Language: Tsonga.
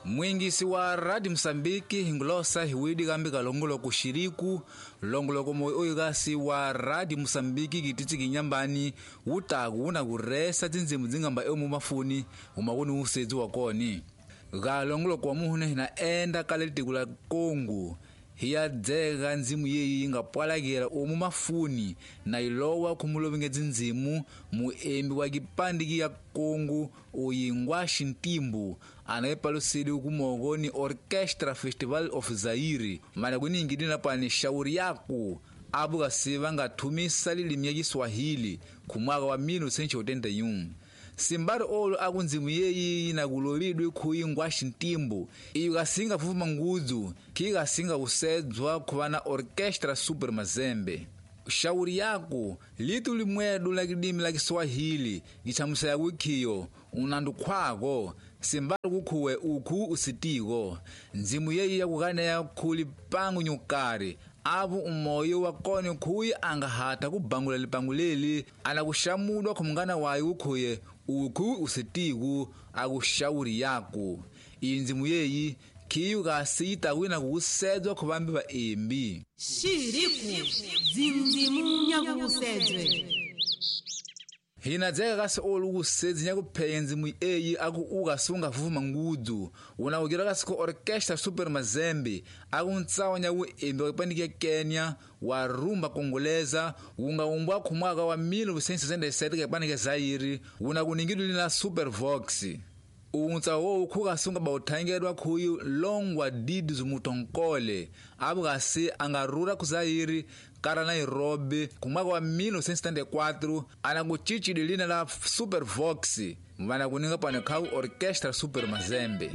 Mwingisi wa Radio Mosambiki hingulosa hiwidi kambi kalongoloko xiriku longoloko moyo oyo kasi wa Radio Mosambiki kititsi kinyambani wutaku wuna kuresa tindzimu dzingamba emu mafuni umakuni usedzi wa koni kalongoloko wa muhune hina enda kale litiko la Kongo hiya dzeka ndzimu yeyi yi nga pwalakela omu mafuni na ilowa khumulovinge dzindzimu muembi wa kipandiki ya Kongo oyingwa xintimbu anayepalusidi kumoko ni Orchestra Festival of Zaire mana kuningidi na pani shauri yaku apo kasi va nga thumisa lilimi ya Kiswahili kumwaka wa 1981. Simbari olo aku ndzimu yeyi yinakulovidwe khuyingwa xintimbu iyo kasinga fufuma ngudzu khi kasinga kusedzwa khuva na Orchestra Super Mazembe. Shauri yako litu limwedu la kidimi la Kiswahili gichamusela kukhiyo unandu khwako simbari kukhuwe ukhu usitiko ndzimu yeyi yakukaneya khuli pangu nyukari apo umoyo wa kone khuyi angahata kubangula lipangu leli anakuxamudwa khumungana wayo kukhuye ukhu usitiku akushauri yako. Iyi ndzimu yeyi khiyu kasi yitakwina kukusedzwa khuvambi vaembi. Xiriku dzindzimu nyakukusedzwe. Hina dzeka kasi olu kusedzi nyakuphenya ndzimu eyi aku ukasunga fufuma ngudzu unakukira kasi ku Orchestra Super Mazembe aku ntsawa nyakuembi wa kipandiki ya Kenya wa rumba kongoleza wunga umbwa khumwaka wa 1967 kipandiki ya Zaire wunakuningidwe lina Super Vox. Untsa wowu khukasunga bauthangedwa khuyu longwa didi zumutonkole apo kasi angarura ku Zaire kara Nairobi kumwaka wa 1974 anakuchichidi lina la Super Vox vanakuninga pano khaku Orchestra Super Mazembe.